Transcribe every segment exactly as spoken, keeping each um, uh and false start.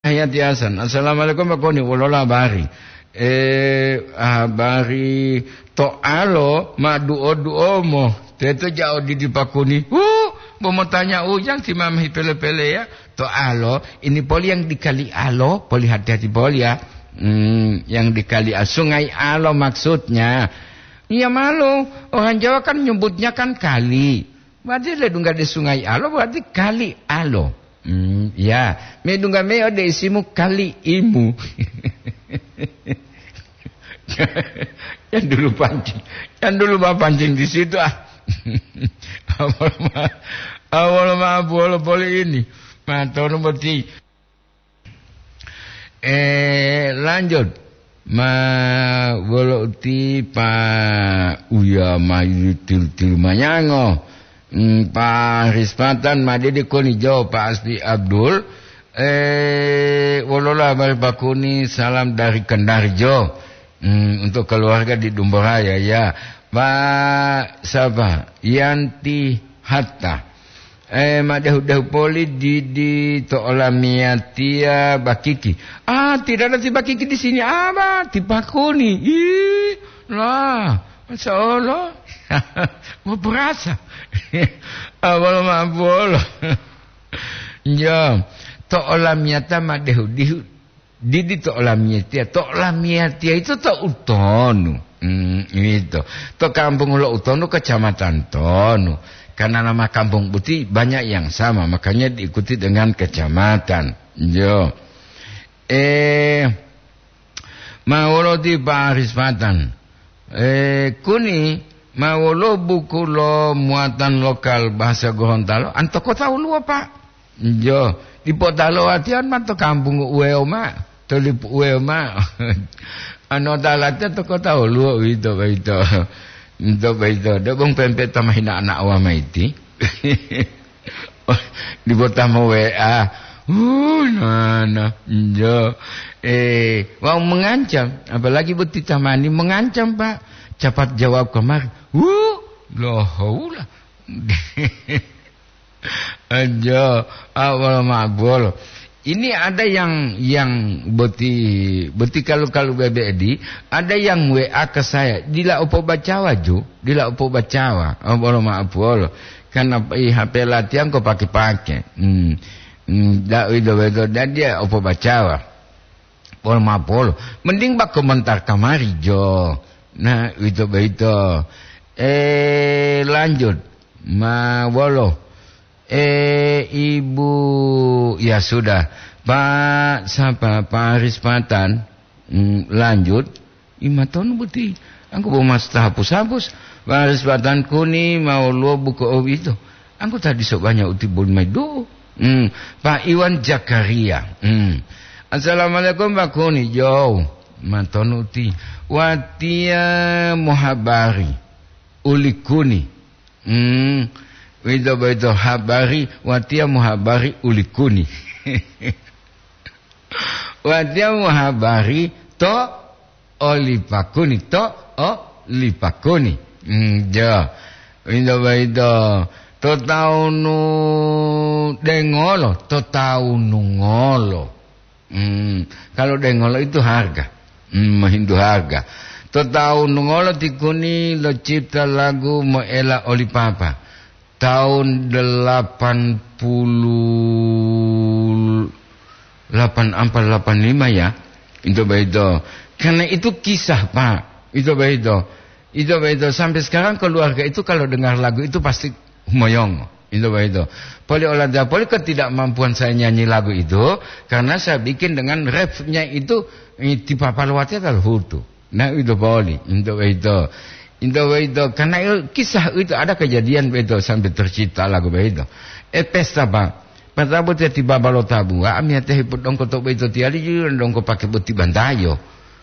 Hayati Hasan. "Assalamualaikum, Pak Koni. Wolola habari?" "Eh, habari to alo ma duo-duomo. Teto jao didi Pak Koni." "Huh, bo motanya ujang ti mama hipele-pele ya. To alo, ini poli yang dikali alo, poli hati-hati poli ya. Hmm, yang dikali a-, Sungai Alo maksudnya." "Iya malu, orang Jawa kan nyebutnya kan kali. Berarti ledungga de Sungai Alo, berarti kali alo." Hmm, ya, medungga me ode isimu kali imu. Yang dulu pancing, yang dulu ma pancing di situ ah. Awal ma, awal ma, awal poli ini. Ma tonu boti. Eh, lanjut. Ma wolo uti pa uya ma tilu-tilu mayango. Hmm, Pak Rispatan, ma dede koni jo Pak Aspi Abdul. Eh, wolola habari Pak Koni, salam dari Kendari jo. Hmm, untuk keluarga di Dumboraya ya. Pak siapa? Yanti Hatta. Eh, ma dehu-dehu poli didi to olamiyatiya bakiki. Ah, tidak ada ti bakiki di sini. Apa? Ti Pak Koni. Ih, lah, Masya Allah. Mau berasa. Awal ma bolo. Ya, to olamiyata ma dehu-dehu. Didi to olamiyatiya, to olamiyatiya itu to utonu. Hmm, itu. To kampung lo utonu, kecamatan tonu. Karena nama kampung boti banyak yang sama, makanya diikuti dengan kecamatan. Yo. Eh, ma wolo ti Pak Rispatan. Eh, kuni ma wolo buku lo muatan lokal bahasa Gorontalo, anto kota uluwo, Pak. Jo, dipo talo atiyan ma to kampung uwewo ma, to lipu uwewo ma. Ano talate to kota woluwo uwito boyito. Nto boyito, debong pempe ta mahina ana' wa maiti. Dipo ta mo W A. Uh, nana, jo. Eh, wau mengancam, apalagi boti tamani mengancam, Pak. Cepat jawab kemari. Uh, lohoula. Aja, awal mabol. Ini ada yang, yang boti, boti kalu-kalu bebedi, ada yang W A ke saya, dila upo bacawa ju, dila upo bacawa, oh, bolo maaf, bolo. Karena i H P latihan kok pakai-pakai. Hmm. Hmm, da, itu, itu, dan dia upo bacawa. Pol mapolo. Mending ba komentar kamari, Jo. Nah, uwito boyito. Eh, lanjut. Ma wolo. Eh, Ibu, ya sudah. Pak, sapa? Pak Aris Patan. Hmm, lanjut. Imatonu boti. Angku bo mas tahapus-hapus. Pak Aris Patan kuni mau luo buku owito. Anggota diso banyak uti boli mai do. Hmm, Pak Iwan Jakaria. Hmm. Assalamualaikum, Pak Kuni. Yo, matonu uti. Watia muhabari uli Kuni. Hmm. Wito boyito habari, watia muhabari uli Kuni. Watia muhabari to oli Pak Kuni, to oli Pak Kuni. Hmm, jo. Wito boyito, to taunu dengolo, to taunu ngolo. Hmm, kalau dengolo itu harga. Hmm, menghindu harga. To taunu ngolo ti Kuni locipta lagu moela oli Papa. Tahun delapan puluh delapan apa delapan lima ya, itu begitu. Karena itu kisah, Pak. Itu begitu. Itu begitu. Sampai sekarang keluarga itu kalau dengar lagu itu pasti humoyong. Itu begitu. Poli olada poli ketidakmampuan saya nyanyi lagu itu karena saya bikin dengan refnya itu, eh, tipa paluwate tal hutu. Nah, itu poli, itu begitu. Itu begitu. Karena itu kisah itu ada kejadian begitu sampai tercipta lagu begitu. Eh, pesta, Pak. Pesta buat tiba balo tabu. Ami ate hipudongko to begitu tiali dongko pakai boti bantayo.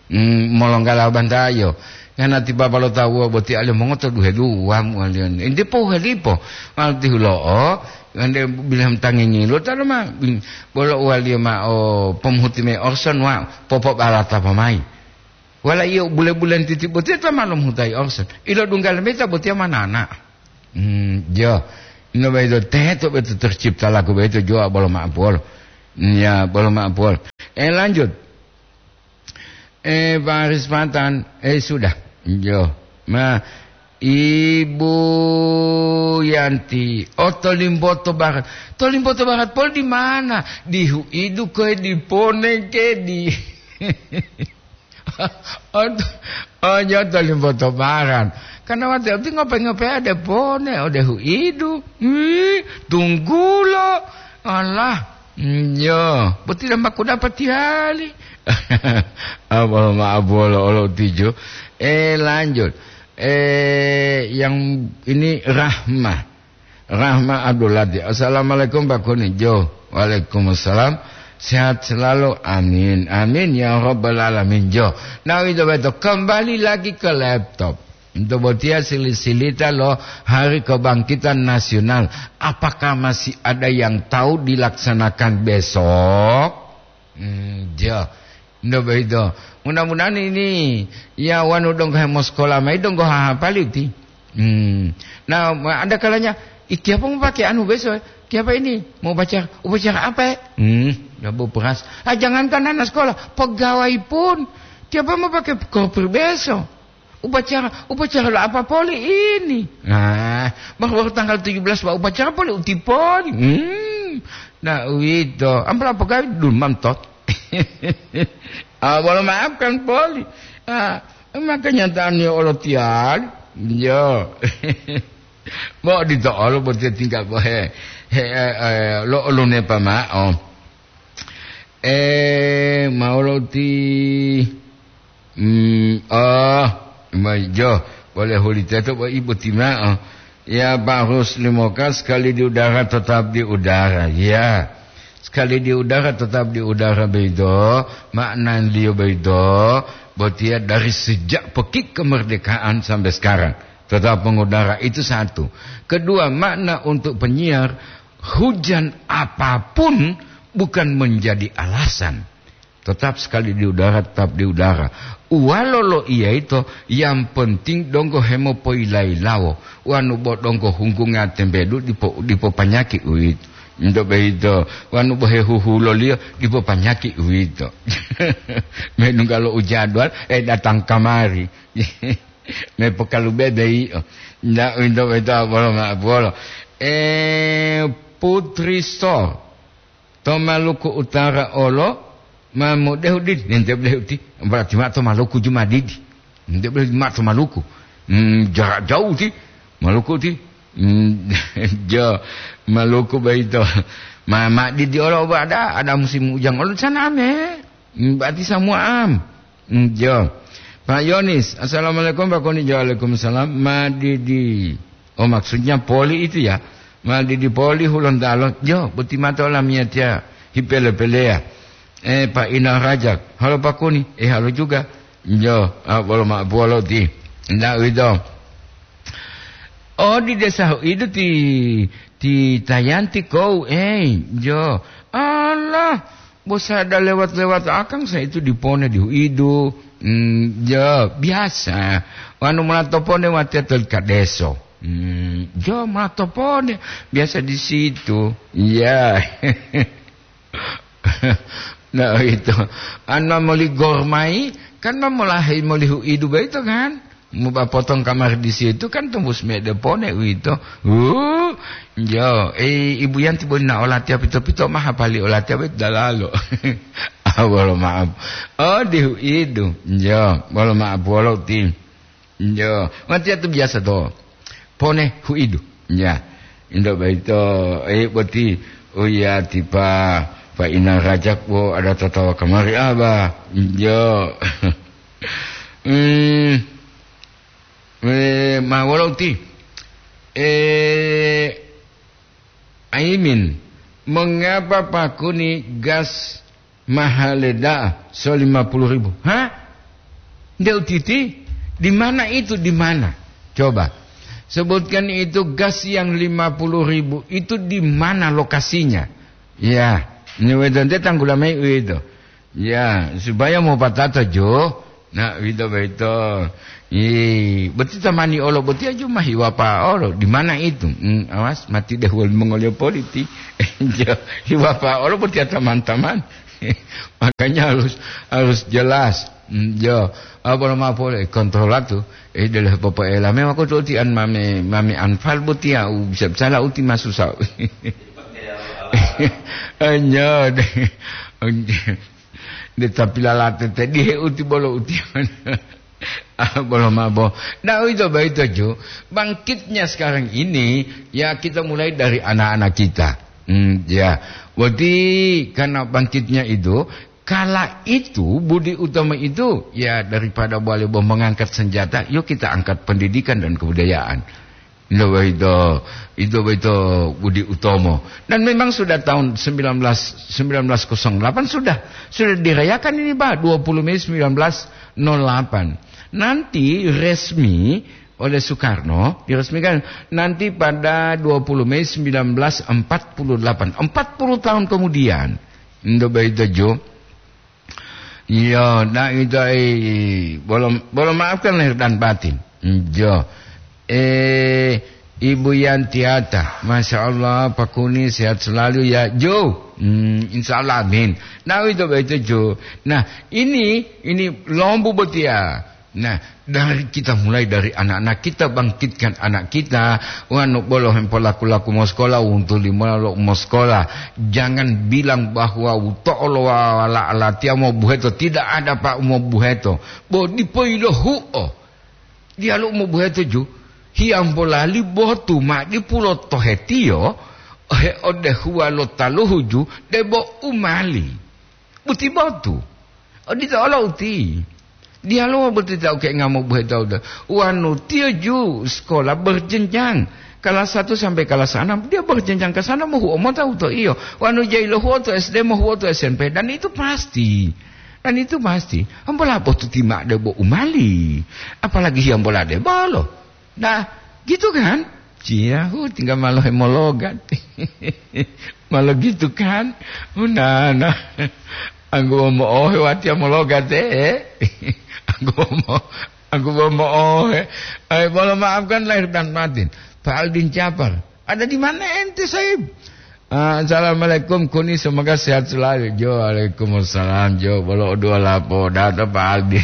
Hmm, molonggala bantayo. Ngana tiba balo tabu buat tiali mongoto duhe dua mualian. Indi po helipo. Malu tihulo o. Ande bilang tangi ngilu talo ma. Hmm, bolo uwali ma o pemuhuti me Orson wa popo balata pamai. Wala iyo bule-bulen titi botiya ta ma lomuhutai Orson. Ilo dungga lemeta botiya manana. Hmm, jo. Ino beto teto beto tercipta lagu beto jo bolo ma'apolo. Ya, bolo maaf, bol. Eh, lanjut. Eh, Faris Fatan, eh, sudah. Yo. Ma, Ibu Yanti, oh, Tolimboto Barat. Tolimboto Barat pol di mana? Di Huidu koe, di Pone ke, di Oh, t-, oh, yo, Tolimboto Barat. Karena waktu itu ngope-ngope ada Pone, ada Huidu. Ih, tunggulo. Alah, mm, yo, boti dambaku dapat tihali. Apa maaf, bolo, olo tijo. Eh, lanjut. Eh, yang ini Rahma. Rahma Abdul Latif. Assalamualaikum, Pak Kuni. Jo. Waalaikumsalam. Sehat selalu. Amin. Amin ya rabbal alamin. Jo. Nah, itu betul. Kembali lagi ke laptop. Untuk botia sili-silita lo Hari Kebangkitan Nasional. Apakah masih ada yang tahu dilaksanakan besok? Hmm, jo. Nto boyito. Mudah-mudahan ini ya wanu donggo hemosekola mayi donggo hahapali uti. Hmm. Nah, ma-, ada kalanya, "Ih, tiapa mau pakai anu beso, eh? Tiapa ini? Mau upacara, upacara apa, eh?" Hmm, ya bu beras. Ah, jangankan anak sekolah, pegawai pun. Tiapa mau pakai koper beso. Upacara, upacara lo apa poli ini? Nah, baru, baru tanggal tujuh belas, Pak, upacara poli uti poli. Hmm. Nah, uwito. Ampela pegawai dulu mantot. Ah, bolo maafkan poli. Ah, maka nyataannya olo tiali. Yo. Bo dito olo bo tinggal bo he, he, eh, eh, lo olo nepa mao. Eh, mau lo ti, hmm, oh, ma-, jo, boleh huli teto bo ibu ti mao. Ya, Pak Rusli Moka, sekali di udara tetap di udara. Ya, sekali di udara tetap di udara begitu, maknanya begitu, botia dari sejak pekik kemerdekaan sampai sekarang tetap mengudara, itu satu. Kedua, makna untuk penyiar, hujan apapun bukan menjadi alasan. Tetap sekali di udara, tetap di udara. Uwalo lo iya ito, yang penting donggo hemopoilailawo. Wanu bo donggo hunggunga tembedu dipo, dipo panyaki uwito. Nto boyito, wanu bo hehuhuloliyo dipo panyaki uwito. Menungga lo ujadwal, eh, datang kamari. Me pokalu bebe iyo. Nda uwito, uwito bolo ma bolo. Eh, Putri Store. To Maluku Utara olo, ma mudehu didi, nente dehu ti, berarti ma to Maluku juma didi. Nente dehu ma to Maluku. Hmm, jarak jauh ti, Maluku ti. Hmm, jo, Maluku boyito. Ma, ma didi olo ba ada, ada musim hujan olo sana ame. Hmm, berarti semua am. Hmm, jo. Pak Yonis, assalamualaikum Pak Koni. Jo, waalaikumsalam. Ma didi. Oh, maksudnya poli itu ya. Ma didi poli Hulontalo. Jo, boti mato lamiyatiya hipele-peleya. Eh, Pak Inang Rajak. Halo Pak Kuni. Eh, halo juga. Jo, ah, bolo ma bolo ti. Ndak wito. Oh, di desa itu ti, ti Tayanti kou. Eh, jo. Allah. Bo sada lewat-lewat akang sa itu dipone di huidu. Hmm, ya, biasa. Wanu mula topone watiya tolika deso. Hmm, ya, mula topone. Biasa di situ. Ya. Nah, itu. Anu moli gormai, kan mamolahi moli huidu begitu kan? Muba potong kamar di situ kan tembus mede pone uwito. Hu, jo, eh, Ibu Yanti boli na olatiya pito-pito ma hapali olatiya boyito dalalo. Ah, bolo maaf. Oh, di huidu. Jo, bolo maaf, wolo ti. Jo, watiya tu biasa to. Pone huidu. Ya. Indo boyito, eh, boti, oh ya, tipa, Pak Inang Rajak, wo, ada tatawa kamari, ah, bah. Jo. Hmm, eh, ma wolo uti? Eh, Aimin, mengapa Pak Kuni gas mahal da'a so lima puluh ribu? Hah? Nde utiti? Di mana itu? Di mana? Coba. Sebutkan itu gas yang lima puluh ribu itu di mana lokasinya? Ya, ini wedante tanggula mai itu. Ya, supaya mau patata jo, Nah, wito-wito. Ih, boti tamani olo boti aju mah hiwapa olo. Di mana itu? Hmm, awas, mati deh wali mongolio politi. Jo, hiwapa olo boti teman-teman. Makanya harus, harus jelas. Hmm, jo, apa lo mapo le kontrol tu? Eh, dele popo ela. Memang aku tuh tian mami, mami anfal boti ya, u, bisa, bisa lah uti masusa. Anyo deh. De tapi lalate te dihe uti bolo uti. Ah, bolo mabo. Nah, itu baik itu, Ju. Bangkitnya sekarang ini, ya, kita mulai dari anak-anak kita. Hmm, ya. Berarti karena bangkitnya itu, kala itu, budi utama itu, ya, daripada boleh boh mengangkat senjata, yuk kita angkat pendidikan dan kebudayaan. Itu boyito, itu boyito budi utomo. Dan memang sudah tahun sembilan belas, sembilan belas kosong delapan sudah, sudah dirayakan ini, Pak, dua puluh Mei sembilan belas nol delapan. Nanti resmi oleh Soekarno, diresmikan nanti pada dua puluh Mei sembilan belas empat puluh delapan. Empat puluh tahun kemudian. Itu boyito, Jo. Iya, nah itu, eh, bolo, bolo maafkan lahir dan batin. Iya. Eh, Ibu Yantiata, Masya Allah, Pak Kuni sehat selalu ya, Jo. Hmm, insya Allah, amin. Nah, itu begitu, Jo. Nah, ini, ini lombu botia. Nah, dari kita mulai dari anak-anak kita, bangkitkan anak kita, wanu bolo hempo laku-laku moskola, untu limola lo moskola. Jangan bilang bahwa uto'o lo wala alatiya mobuheto, tidak ada, Pak, mobuheto. Bo dipo ilohu'o. Diyalu mobuheto ju, hiyambo lali botu ma dipulo tohetiyo, he odehuwa lo taluhu ju, debo umali. Buti botu. Odito olo uti. Diyaluwo boti tau ke ngamo buhe tau da. Wanu tiyo ju sekolah berjenjang. Kelas satu sampai kelas enam, dia berjenjang ke sana, mohuo mota uto iyo. Wanu jai lohuo to S D, mohuo to S M P. Dan itu pasti. Dan itu pasti. Ambola botu tima de bo umali. Apalagi hiyambola de bolo. Nah, gitu kan? Cia, hu, tinggal malo hemologat. Malo gitu kan? Hu, nah, nah. Anggo mo'ohe watiya mologat, eh. Anggo mo-, anggo mo'ohe. Ay, mohon maafkan lahir dan batin. Pak Aldin Capar, ada di mana ente, Saib? Ah, assalamualaikum, Kuni, semoga sehat selalu. Jo, waalaikumsalam, Jo. Bolo dua lapo, data Pak Aldi.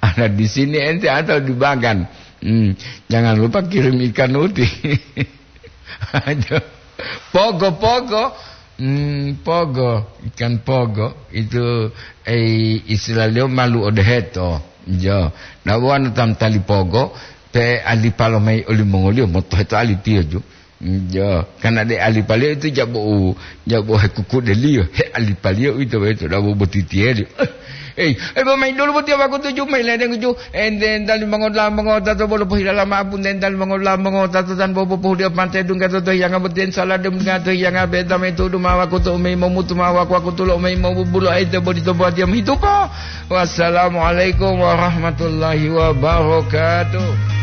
Ada di sini ente atau di Bagan? Hmm, jangan lupa kirim ikan uti. Jo. Pogo, pogo. Hmm, pogo, ikan pogo. Itu, eh, istilah liyo malu odeheto. Jo. Nah, wana tam tali pogo, pe alipalo mai olimongoliyo, motoheto alitiyo, Jo. Jo, karena de alipaliyo itu jabo u, jabo hekukudeliyo, he alipaliyo uwito boyito dabo botitiyeliyo. Eh, eh, eh, bo mayi dulu boti wakutu ju, mayi ledeng ju, ente entali mongotla mongota to bolo pohilala ma'o pun entali mongotla mongota to tan bobo pohudiyo pante dungga to tohiyanga boti ensala dem dungga tohiyanga beta mayi tudu ma wakutu umeyi momutu ma waku-wakutu lo umeyi mobubulo aite bodi to buwatiyo mohitupo. Wassalamualaikum warahmatullahi wabarakatuh.